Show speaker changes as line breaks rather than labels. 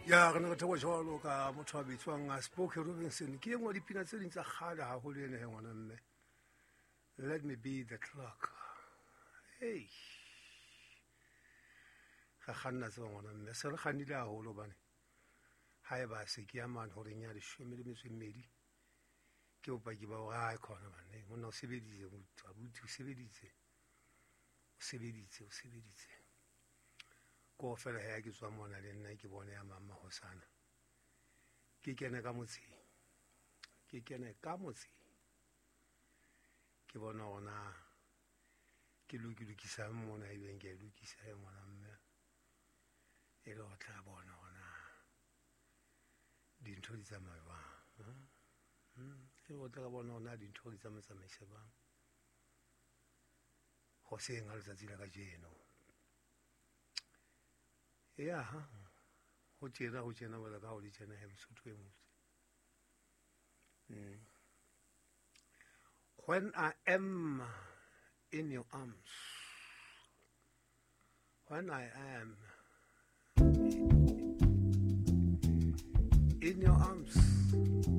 Ya re ne re theoha jwalo ka motho a bitswang Spoke Robinson. Ke e nngwe ya dipina tse ding tsa kgale haholo ena he ngwana mme. Let me be the clock. Hey. Re kganna tseba ngwana mme. Se re kgannile haholo hobane haeba se ke ya mane horeng ya 12. Ke bopaki ba hore ha khona bane. Monna o sebeditse, abuti o sebeditse. O sebeditse, o sebeditse. Ko fela ha ke tswa mona le nna ke bone ya mama hosana. Ke kene ka motseng. Ke kene ka motseng. Ke bona hona ke lokisa mona e beng ke lokisa e ngwana mme. E le ho tla bona hona dintho di tsamaya jwang. E le ho tla bona hona dintho di tsamaisa jwang. Hoseng ha letsatsi la kajeno. Ya ho tjena wela ka ho di tjena he Mosotho e motse. When I am in your arms, when I am in your arms.